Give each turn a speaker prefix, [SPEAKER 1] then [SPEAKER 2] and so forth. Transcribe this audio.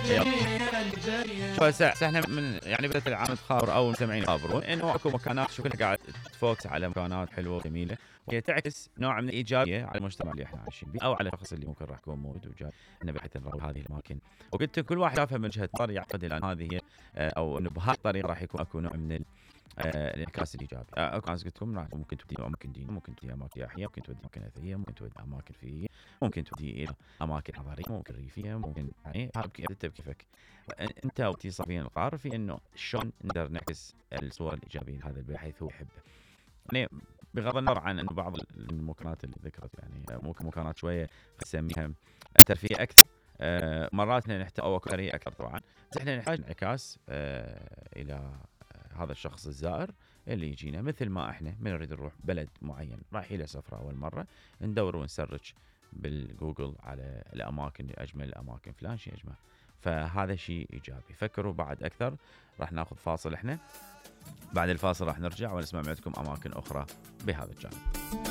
[SPEAKER 1] شو هسه احنا من يعني بدايه العام تخابر او المستمعين يخابرون انه اكو مكانات شو كلها قاعد تفوكس على مكانات حلوه وجميله، وهي تعكس نوع من الايجابيه على المجتمع اللي احنا عايشين به او على الشخص اللي ممكن راح يكون موجود وجاي انه بحيث نروح هذه الاماكن. وقلت كل واحد شافها من وجهه نظر يعتقد ان هذه هي او انه بهذه الطريقه راح يكون اكو نوع من الانعكاس الايجابي. اكو ناس قلت لكم ممكن تودي اماكن دينيه، ممكن تودي اماكن سياحيه، ممكن تودي اماكن اثريه، ممكن تودي اماكن فيزيائيه، ممكن تودي الى اماكن حضاريه، ممكن ريفيه، ممكن يعني انت بكيفك. انت وتي صافين القرار في انه شلون نقدر نعكس الصور الايجابيه لهذا بحيث هو يحبه. يعني بغض النظر عن انه بعض المكونات اللي ذكرت يعني ممكن مكونات شويه نسميها ترفيه اكثر، مرات احنا نحتاج او ثريه اكثر طبعا، بس احنا نحتاج انعكاس الى هذا الشخص الزائر اللي يجينا. مثل ما احنا من نريد نروح بلد معين رايحين له سفره اول مره، ندور ونسرج بالجوجل على الاماكن اجمل الاماكن فلان شيء اجمل، فهذا شيء ايجابي. فكروا بعد اكثر. راح ناخذ فاصل احنا، بعد الفاصل راح نرجع ونسمع منكم اماكن اخرى بهذا الجانب.